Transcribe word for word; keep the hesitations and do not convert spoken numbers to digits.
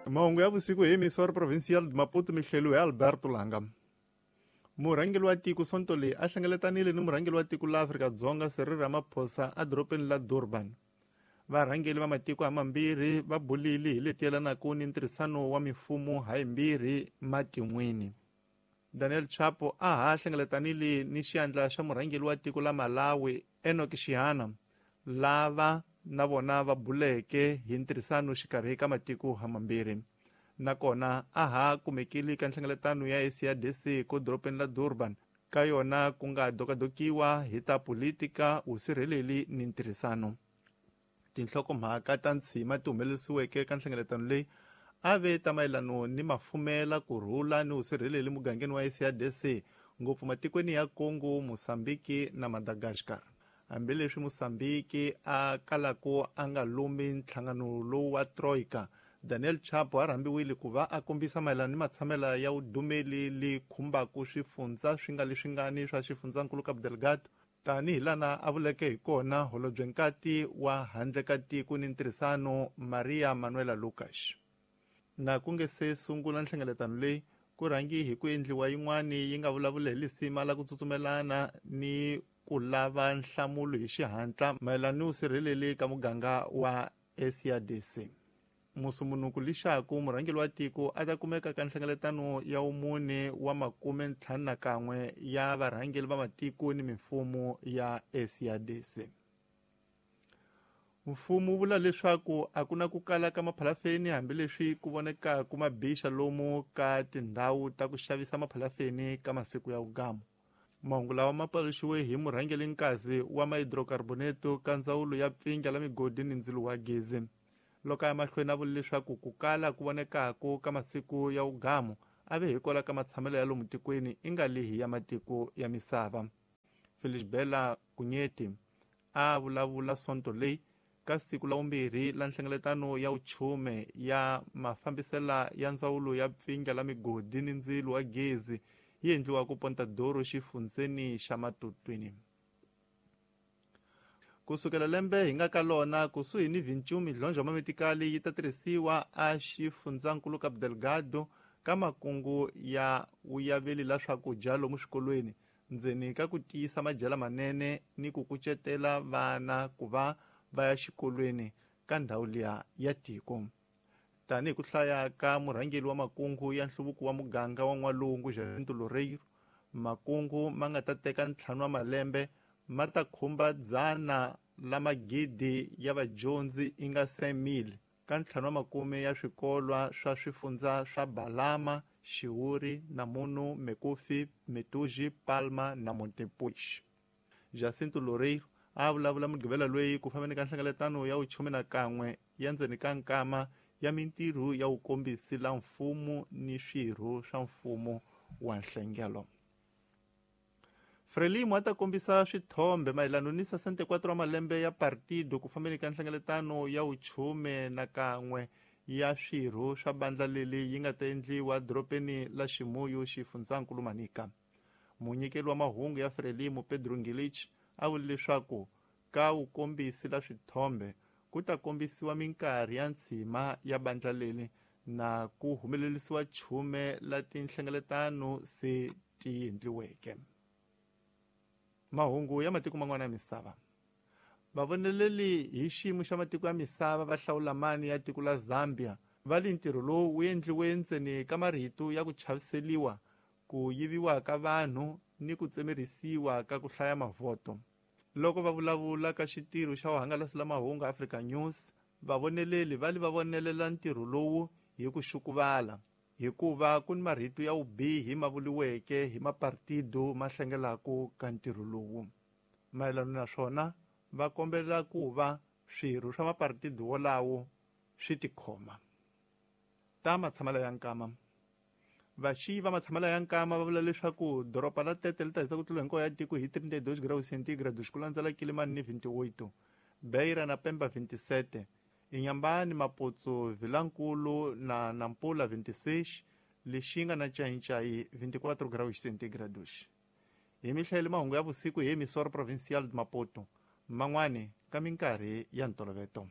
Mahungu ya vusiku hi Emissora Provincial de Maputo mihleliwe hi Alberto Langa. Murhangeri wa tiko Sonto leyi a hlengeletanile ni murhangeri wa tiko la Afrika-Dzonga Cyril Ramaphosa edorobeni la Durban. Varhangeri va matiko hamambirhi va bulile hi leti yelanaka ni ntirhisano wa mifumo hayimbirhi matin'wini. Daniel Chapo a ha hlengeletanile ni xiandla xa murhangeri wa tiko la Malawi Enoch Chihana, lava na vona va buleke hi ntirhisano xikarhi ka matiko hamambirhi. Nakona a ha kumekile ka nhlengeletano ya S A D C ko dorobeni la Durban, ka yona ku nga dokadokiwa hi ta politika, vusirheleli ni ntirhisano. Tinhlokomhaka ta ntshima ti humelerisiweke ka nhlengeletano leyi a ve ta mayelano ni mafumela, kurhula ni vusirheleli mugangeni wa S A D C, ngopfu matikweni ya Congo, Mozambique na Madagascar. Hambileswi Mozambique a kalaku a nga lumi nhlangano lowu wa Troika, Daniel Chapo a rhambiwile ku va a kombisa mayelana ni matshamela ya vudumeli li khumbaka swifundza swi nga leswingani swa xifundzankulu Cabo Delgado, tanihi lana a vuleke hi kona holobyenkati wa handle ka tiko ni ntirhisano Maria Manuela Lucas. Na ku nge se sungula nhlengeletano leyi, ku rhangi hi ku endliwa yin'wani yi nga vulavula hi lisima la ku tsutsumelana ni ku lava nhlamulo hi xihatla mayelana ni vusirheleli ka muganga wa S A D C. Musumunuku lixaku murhangeri wa tiko a ta kumeka ka nhlengeletano ya vumune wa makume ntlhanu na kan'we ya varhangeri va matiko ni mimfumo ya S A D C. Mfumo wu vula leswaku a ku na ku kala ka maphalafeni hambileswi ku vonekaka mabixa lomu ka tindhawu ta ku xavisa maphalafeni ka masiku ya vugamu. Mahungu lawa ma paluxiwe hi murhangeri nkazi wa mahidrokarboneto ka ndzawulo ya pfinga la migodi ni ndzilo wa gezi. Loko a ya mahlweni a vula leswaku ku kala ku vonekaka ka masiku ya vugamu a ve hikwalaho ka matshamelo ya lomu tikweni i nga lihi ya matiko ya misava. Felix Bela Kunyeti a vulavula Sonto leyi ka siku la vumbirhi la nhlengeletano ya vuchume ya mafambisela ya ndzawulo ya pfinga la migodi ni ndzilo wa gezi yi endliwa ku Pontadoro xifundzeni xa Matutwini. Kusukela lembe hi nga ka lona kusuhi ni vinci midlondlo mametikali yi ta tirhisiwa a xifundzankulu Cabo Delgado ka makungu ya vuyaveli la swakudya lomu swikolweni, ndzeni ka ku tiyisa madyela manene ni ku kucetela vana ku va va ya xikolweni ka ndhawu liya ya tiko. Tanihi ku hlaya ka murhangeri wa makungu ya nhluvuko wa muganga wa N'walungu Jacinto Loureiro, makungu ma nga ta teka ntlhanu wa malembe ma ta khumba dzana la magidi ya vadyondzi i nga cinq mille ka ntlhanu wa makume ya swikolwa swa swifundza swa Balama, Xiwuri, Namunu, Mekufi, Metuji, Palma na Montepuez. Jacinto Loureiro a vulavula Mugqivela loyi ku fambeni ka nhlengeletano ya vuchume na kan'we ya ndzeni ka nkama ya mintirho ya vukombisi la mfumo ni swirho swa mfumo wa nhlengelo. Frelimo a ta kombisa swithombe mayelana ni sessenta e quatro wa malembe ya partido ku fambeni ka nhlengeletano ya vuchume na kan'we ya swirho swa bandla leli yi nga ta endliwa dorobeni la Ximuyu xifundzankulu Manica. Munyikeli wa mahungu ya Frelimo Pedro Ngilich a vule leswaku ka vukombisi la swithombe ku ta kombisiwa minkarhi ya ntshima ya bandla leli na ku humelerisiwa chume la tinhlengeletano se ti endliweke. Mahungu ya matiko man'wana ya misava. Vavoneleli hi xiyimo xa matiko ya misava va hlawula mani ya tiko la Zambia va li ntirho lowu wu endliwe ntseni ka marito ya ku chaviseliwa, ku yiviwa ka vanhu ni ku tsemerisiwa ka ku hlaya mavhoto. Loko va vulavula ka xitirho xa vuhangalasi la mahungu Africa News, vavoneleli va li va vonelela ntirho lowu hi ku xukuvala, hikuva ku ni marito ya vubihi ma vuriweke hi mapartido ma hlengelaka ka ntirho lowu. Mayelana na swona, va kombela ku va swirho swa mapartido wolawo swi tikhoma. Ta matshamelo ya nkama. Vaxiyi va matshamelo ya nkama va vula leswaku doroba la Tete li ta hisa ku tlula hinkwayo ya tiko hi trinta e dois graus centígrados ku landzela Kilimani ni vinte e oito, Beira na Pemba vinte e sete, Inhambane, Maputo, Vilankulu na Nampula vinte e seis, Lixinga na Xai-Xai vinte e quatro graus centígrados. Hi mihlayelo mahungu ya vusiku hi Emissora Provincial de Maputo, man'wani ka minkarhi ya ntolovelo.